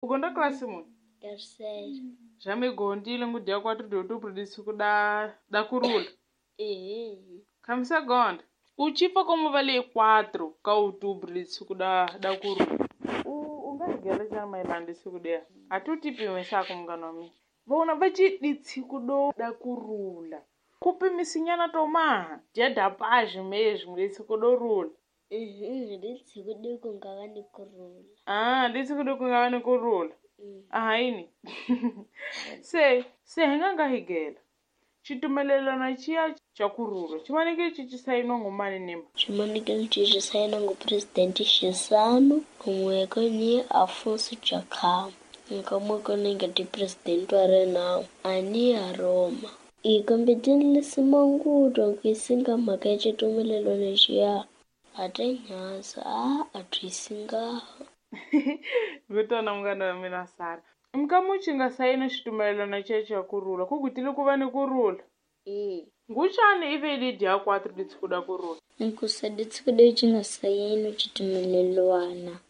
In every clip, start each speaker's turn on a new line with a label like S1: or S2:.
S1: U gonda klasi muni?
S2: Terceiro.
S1: Já me gondile ngu dia 4 de outubro de siku da kurula.
S2: Ehe.
S1: Khamisa gonda. U chipa como vale 4 ka outubro de siku da kurula. U nga higela xa mayelana siku dia. A tu tipimisa ku munghana wa mina. Vona va ci ditshiku do da kurula. Ku pimisinyana to maha. Dia da paz mesmo ditshiku do rula.
S2: Ditshiku do ku nga va ni kurula.
S1: Ah, ditshiku do ku nga va ni kurula. Aha yini? Se hi nga higela. Xitumelelano xiya xa kurula. Xi fanekele xi sayiniwa ngo mani ni mani?
S2: Xi fanekele xi sayiniwa ngo President Chissano kun'we ni Afonso Dhlakama. Nkamwe ni nga ti president wa Renamo a ni ya Roma. I kambe tinlisimanguto ku isinga mhaka ya xitumelelano xiya a ta nyasa a twisinga.
S1: Vitana munghana wa mina Sara. Mkamuchi nga sayina xitumelelano xa kurula ku gutile ku va ni kurula. Nguxani ive li dia 4 ditshiku da kurula.
S2: Nkusa ditshiku de xi nga sayini xitumelelwana.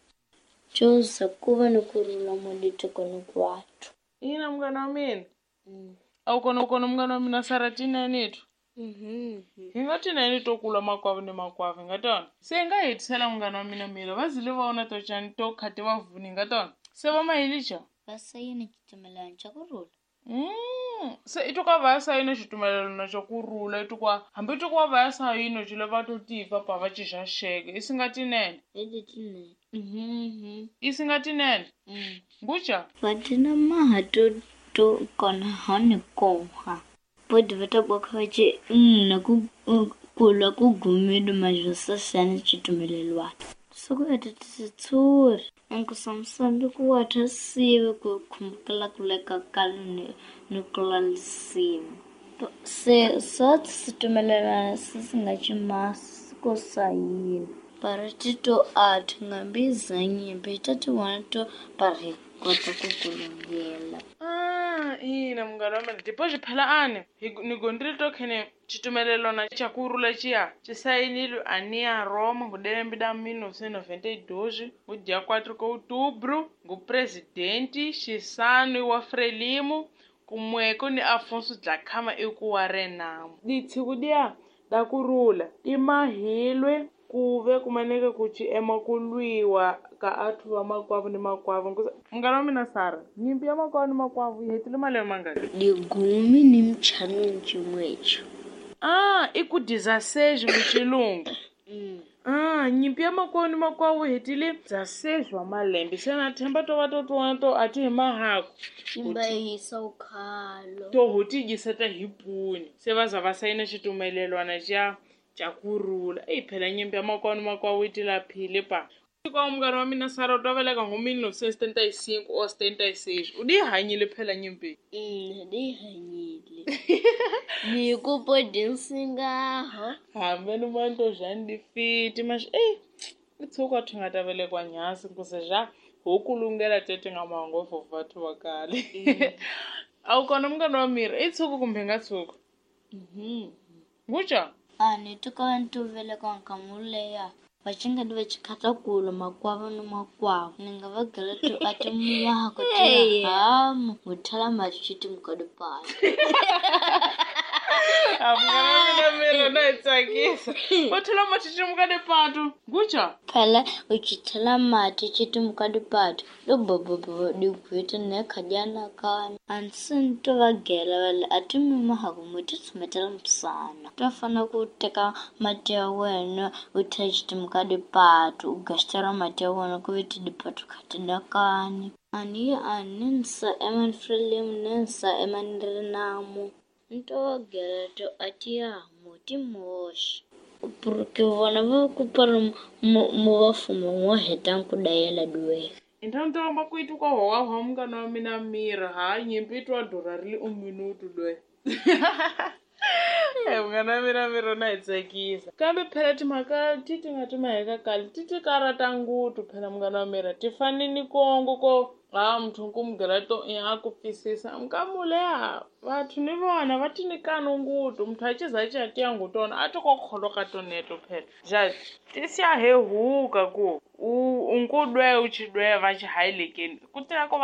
S2: Xoza ku va ni kurula mo ditiko hinkwato.
S1: Ina munghana wa mina. A wu kona munghana wa mina Sara tinene tu. Hi nga tinene to kula makwavo ni makwavo hi nga tona. Se hi nga hetisela munghana wa mina mila va zile va vona to cani to khati va vuni hi nga tona. Se va mahili xa?
S2: Va sayina xitumelelano xa kurula.
S1: Se i to ka va ya sayina xitumelelano xa kurula i to kwa hambi to kwa va ya sayina xile va to tiva pa va cixa xeke i singa tinene.
S2: Hi tinene.
S1: I singa tinene. Nguxa?
S2: Va tina maha to kona hani koha. Bodi va ta boka va ci na ku kulwa ku gumile majosasana xitumelelwana. Soko etetitsuri enkusamsambi ku watha sive ku khumbukela ku leka kale ni kula lisimu. Se sot xitumelelano se si nga cimasi ko sayina. Parati to athu ngambiza nyimpi tatiwana to pari kota ku kulungela.
S1: Ina munghana wa mina depois phela ani ni gondile to khene xitumelelano xa kurula xiya xi sayinile a ni ya Roma ngo lembe da 1992 ngo dia 4 ka outubro ngo presidente Chissano wa Frelimo kumweko ni Afonso Dhlakama eku wa Renamo. Ditshiku dia da kurula ti mahilwe ku ve kumaneke ku ci ema ku lwiwa ka athu va makwavo ni makwavo. Munghana wa mina Sara, nyimpi ya makwavo ni makwavo yi hetile malembe mangani?
S2: Digumi ni mchanu ncimwecho.
S1: Ah, i ku 16 mu xilungu. Nyimpi ya makwavo ni makwavo yi hetile 16 wa malembe. Se na themba to va to twana to a ti hi mahaku.
S2: Imba hisa ukhalo.
S1: To ho ti dyiseta hi puni. Se va za va sayina xitumelelwana xa kurula. Eyi phela nyimpi ya makwavo ni makwavo yi tilaphile pa. Kwa munghana wa mina Sara u ta veleka ngo 1975 or 76. U di hanyile phela nyimpi.
S2: Di hanyile. Ni ku podinsingaho.
S1: Hambe ni manto jani di fiti mas eh i tshuka thi nga ta velekwa nyasi nkuze ja ho kulungela tete nga mango vathu va kale. A wu kona munghana wa mira i tshuka kumbe nga tshuka. Nguxa?
S2: A ni tuka ntu veleka nkamuleya. Vacingani va chikhata kula makwavo ni makwavo. Ni nga va gela to a ti muwako ti hamu muthala mati xiti mukadipala.
S1: A munghana wa mina mira na yi tsakisa. Va thela mati xiti mukadipatu. Nguxa?
S2: Phela u chithela mati xiti mukadipatu. Lo bobobo digwita ne khadiana kana. Ansi to va gela vale a ti mimahaku mu ti tshumetela msana. To fana ku teka mati ya wena u thela xiti mukadipatu u gastera mati ya wena ku ve ti dipatu khati dakani. Ani a ninsa eman Frelimo ninsa eman Renamo. Nto gela to a ti yamu ti moxi. Porque vona va ku pari mu va fuma n'wo heta ku dayela duwe.
S1: Intanto wa makuitu kwa hoga ho munghana wa mina mira ha nyimpi twa dura ri un minuto dwe. Munghana wa mina mira na hi tsakisa. Kambe phela timhaka ti ti nga ti maheka kale ti ti karata ngutu phela munghana wa mira ti fani ni kongo ko ha muthu ku mugela to a ku pfisisa nkamuleha vathu ni vona va ti nyikana ngutu muthu a ciza ci tiya ngutona a ti ko kholoka toneto phela ja ti siya he huka ku u nkudwe u chidwe va xi hailekeni ku tiva ko